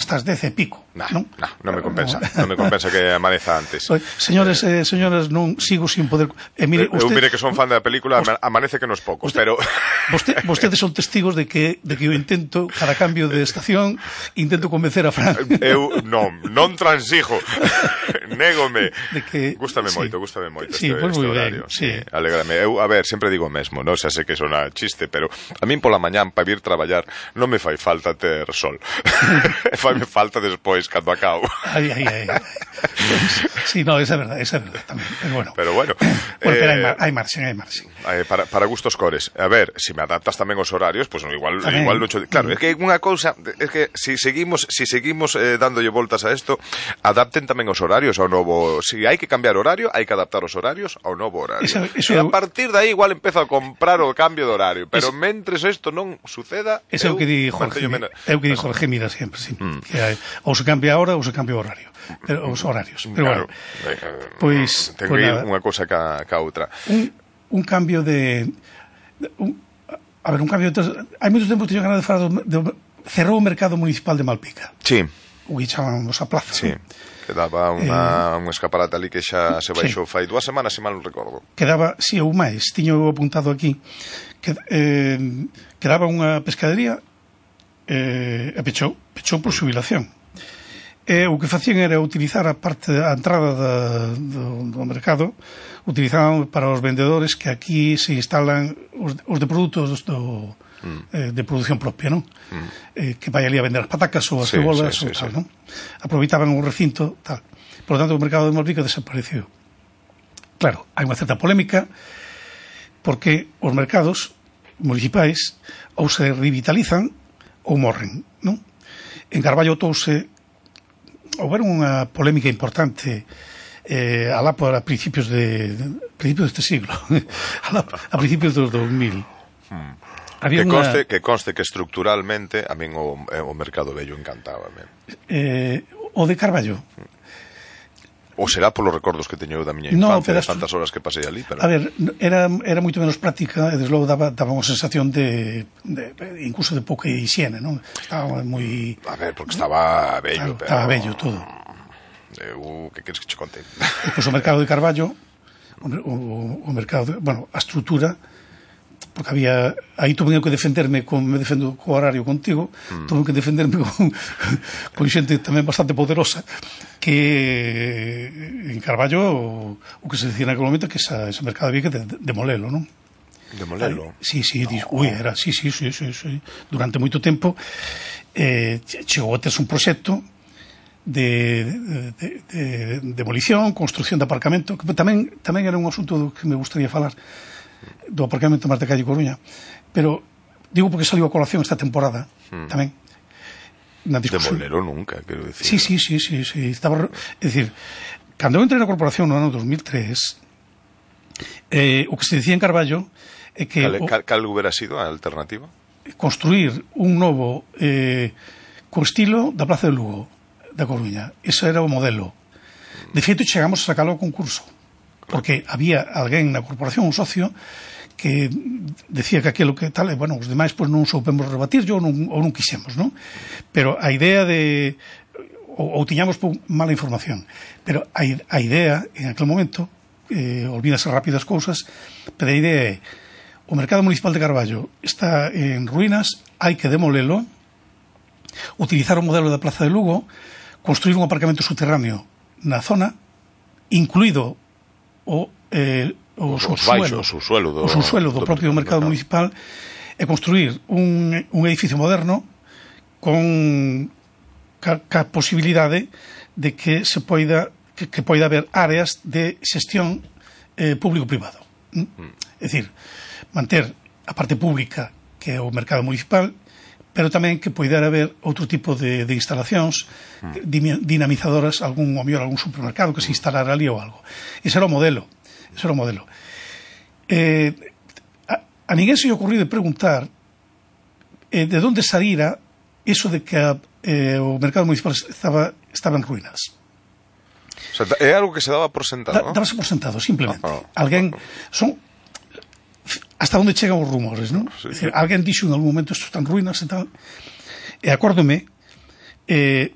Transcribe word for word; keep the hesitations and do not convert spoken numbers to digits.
hasta as dez e pico. Nah, non? nah, non me compensa, non me compensa que amaneza antes. Señores e eh, señoras, non sigo sin poder... Eh, mire, eu usted, mire que son fan da película, usted, amanece que nos poucos, usted, pero... Vosted, vostedes son testigos de que, de que eu intento, cada cambio de estación, intento convencer a Fran. Eu non, non transijo, négome. De que, gústame sí, moito, gústame moito sí, este, pues este muy horario. Ben, sí. Sí, alégrame. Eu, a ver, sempre digo o mesmo, non? Xa sei que sona chiste, pero a min pola mañán para vir traballar non me fai falta ter sol. Faime falta despois, cando acabo. Ai, ai, ai. Sí, no, esa é verdade, esa é verdade tamén. Pero bueno, pero bueno, bueno eh, pero hai, mar, hai marxen, hai marxen. Eh, para, para gustos cores. A ver, se si me adaptas tamén os horarios, pues no, igual tamén. igual non cho... Claro, é que unha cousa, é que se si seguimos, si seguimos eh, dándolle voltas a isto, adapten tamén os horarios ao novo, si hai que cambiar horario, hai que adaptar os horarios ao novo horario. Eso, eso e a eu... partir de aí igual empezo a comprar o cambio de horario, pero es... mentres isto non suceda, Eso é o que di Jorge, é o que di Jorge Mira sempre, sí. Mm. Que hai, ou se cambia a hora ou se cambia o horario. Pero, os horarios. Pero claro, bueno, pois ten pues que ir nada, unha cousa ca, ca outra. Un, un cambio de, de un, a ver, un cambio de, hai moito tempo teño ganas de falar do, de, cerrou o mercado municipal de Malpica. Sí. O que chamamos a plaza. Sí. ¿no? Que daba unha, eh, un escaparate ali que xa se baixou sí. fai dúas semanas, se mal non recordo. Quedaba, si, ou máis, tiño apuntado aquí, que eh, quedaba unha pescadería eh, e pechou, pechou por xubilación. E o que facían era utilizar a parte, a entrada da, do, do mercado, utilizaban para os vendedores que aquí se instalan os, os de produtos do, mm. eh, de produción propia, non? Mm. Eh, que vai ali a vender as patacas ou as sí, cebolas sí, ou sí, tal, sí. non? Aproveitaban un recinto, tal. Por lo tanto, o mercado de Malpica desapareceu. Claro, hai unha certa polémica porque os mercados municipais ou se revitalizan ou morren, non? En Carballo touse houve unha polémica importante eh, alá por a principios de, de principios deste siglo alá, a principios dos dos mil hmm. Había que, una... conste, que conste que estructuralmente a min o, o mercado vello encantaba eh, o de Carballo ou será polos recordos que teño eu da miña no, infancia, de estru... tantas horas que pasei ali, pero... A ver, era, era moito menos práctica e desde logo daba, daba unha sensación de, de, de incluso de pouca higiene, non? Estaba moi... A ver, porque estaba bello, claro, pero... Estaba bello todo. Eu, que queres que che conte? E, pois, o mercado de Carballo, o, o, o mercado, de, bueno, a estrutura, porque había, aí tuve que defenderme, como me defendo co horario contigo, mm. tuve que defenderme con, con xente tamén bastante poderosa, que en Carballo o, o que se decía naquele momento que esa, ese mercado había que de, demolelo, non? Demolelo? Aí, sí, sí, dis, ui, era, sí, sí, sí, sí, sí, durante moito tempo eh, chegou a terse un proxecto de, de, de, de demolición, construcción de aparcamento, que tamén, tamén era un asunto que me gustaría falar, do aparcamento máis de calle Coruña, pero digo porque saliu a colación esta temporada hmm. tamén na discusión. Demolero nunca, quero dicir. Sí, sí, sí, sí, sí. Estaba, é dicir, cando eu entrei na corporación no ano dos mil tres, eh, o que se dicía en Carballo é que cal, cal, cal hubiera sido a alternativa? Construir un novo eh, co estilo da Plaza de Lugo da Coruña. Ese era o modelo. De feito, chegamos a sacalo ao concurso, porque había alguén na corporación, un socio, que decía que aquilo que tal, e, bueno, os demais pois non soupemos rebatir, ou non, ou non quixemos, non? Pero a idea de... ou, ou tiñamos mala información, pero a, a idea, en aquel momento, eh, olvídase rápido as cousas, pero a idea é, o mercado municipal de Carballo está en ruínas, hai que demolelo, utilizar o modelo da Plaza de Lugo, construir un aparcamento subterráneo na zona, incluído o, eh, o, os subsuelo, baixos, o subsuelo do, o subsuelo do, do propio do mercado, mercado municipal, e construir un, un edificio moderno con ca, ca posibilidade de que se poida que, que poida haber áreas de xestión eh, público-privado. ¿Mm? Mm. É dicir, manter a parte pública que é o mercado municipal, pero tamén que poidera haber outro tipo de, de instalacións mm. dinamizadoras, algún, o mellor, algún supermercado que se instalara ali ou algo. Ese era o modelo. Ese era o modelo. Eh, a, a ninguén se lle ocurriu de preguntar eh, de onde saíra eso de que a, eh, o mercado municipal estaba, estaba en ruínas. O sea, é algo que se daba por sentado, da, ¿no? Dábase por sentado, simplemente. Oh, oh, alguén... Son... hasta onde chegan os rumores, non? Sí, sí. Alguén dixo en algún momento isto está en ruínas e tal. E acórdome, eh,